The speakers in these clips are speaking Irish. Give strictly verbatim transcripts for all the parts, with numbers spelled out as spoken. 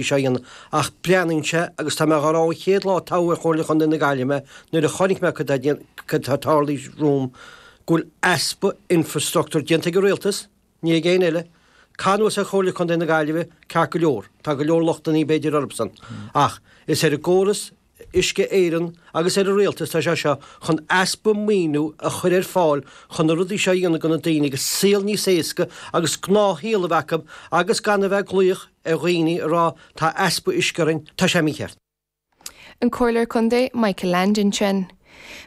seo a dhéanamh ach breathnaíonn sé agus tá mé dhá rá ón chéad lá a toghadh ar Chomhairle Chontae na Gaillimhe nuair a chonaic mé cad atá ag tarlú romham go bhfuil easpa infrastructúir déanta ag an rialtas, ní ag éinne eile. Caith anuas ar Chomhairle Chontae na Gaillimhe ceart go leor, tá go leor lochtanna b'fhéidir orthusan ach is ar an gcóras Uisce Éireann agus ar an rialtas tá sé seo chun easpa maoiniú a chur ar fáil chun na rudaí seo a dhéanamh do na daoine agus saol níos éasca agus gnáthshaol a bheith acu agus gan a bheith ag glaoch ar dhaoine a rá tá easpa uisce orainn, tá sé mícheart. An Comhairleoir Contae Michael Leainde ansin.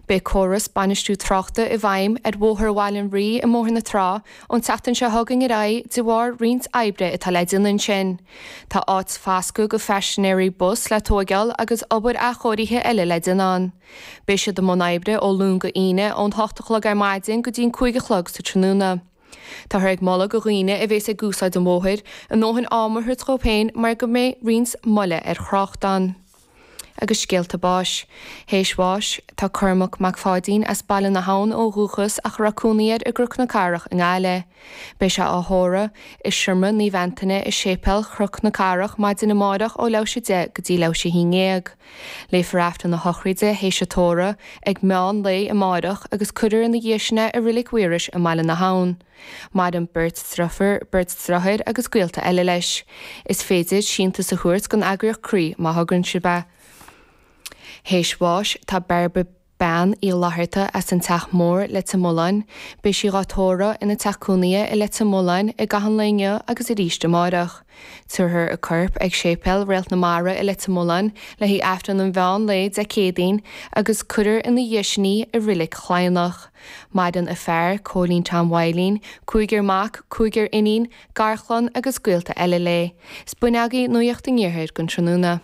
Beidh córas bainistiú tráchta i bhfeidhm ar Bhóthar Bhaile an Rí i mBóthar na Trá ón tseachtain seo chugainn ar aghaidh de bharr roinnt oibre atá le déanamh ansin. Tá áit foscaidh do phaisinéirí bus le tóigeáil agus obair athchóirithe eile le déanamh ann. Beidh siad i mbun oibre ó Luan go hAoine ón hocht a chlog ar maidin go dtí an cúig a chlog sa tráthnóna. Táthar ag moladh do dhaoine a bhéas ag úsáid an bhóthair a ndóthain ama a thabhairt dóibh féin mar go mbeidh roinnt moille ar thrácht ann. Agus scéalta báis. Théis bháis, tá Cormac Mac Pháidín as Baile na hAbhann ó dhúchas ach a raibh cónaí air i gCnoc na Cathrach i nGaillimh. Beidh sé á thórramh i Seomra Naomh Antaine i Séipéal Chnoc na Cathrach maidin amárach ó leathuair théis a deich go dtí leathuair théis a haon déag. Léifear Aifreann a shochraide théis an tórraimh ag meán lae amárach agus cuirfear ina dhiaidh sin é i Reilig Mhaorais i mBaile na hAbhann. Maireann beirt deirfiúr, beirt deartháir agus gaolta eile leis. Is féidir síntiús a thabhairt don eagraíocht Croí má thograíonn sibh é. Théis bháis, tá Bairbre Bean Uí Fhlatharta as an Teach Mór, Leitir Mealláin. Beidh sí dhá tórramh ina teach cónaithe i Leitir Mealláin i gcaitheamh an lae inniu agus arís amárach. Tabharfar a corp ag Séipéal Réalt na Mara i Leitir Mealláin le haghaidh Aifreann an mheán lae Dé Céadaoin agus cuirfear ina dhiaidh sin í i Reilig Chladhnach. Maireann a fear, Cóilín Tom Mhaidhlín, cúigear mac, cúigear iníon, garchlann agus gaolta eile léi. Is b'in agaibh Nuacht an Iarthair don tráthnóna.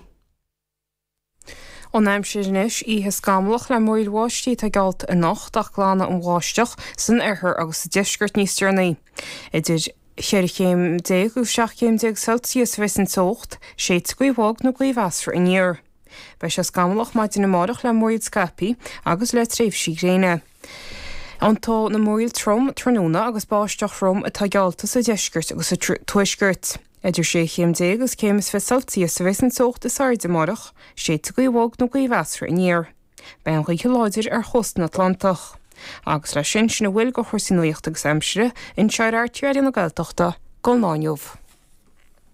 An aimsir anois oíche scamallach le múraíl bháistí atá geallta anocht ach glanfaidh an bháisteach san oirthear agus sa deisceart níos deireanaí. Idir cheithre chéim déag agus seacht chéim déag Celsius a bheas an teocht, séidfidh gaoth bhog nó gaoth mheasartha aniar. Beidh sé scamallach maidin amárach le múraíl scaipthe agus le tréimhsí gréine. Tiontóidh na múraíl trom tráthnóna agus báisteach throm atá geallta sa deisceart agus sa tuaisceart. Idir sé chéim déag agus céim is fiche Celsius a bheas an teocht is airde amárach, séidfidh gaoth bhog nó gaoth mheasartha aniar. Beidh an ghaoth láidir ar chósta na Atlantach. Agus leis sin, sin a bhfuil de chúrsaí nuachta agus aimsire anseo ar RTÉ Raidió na Gaeltachta don lá inniu.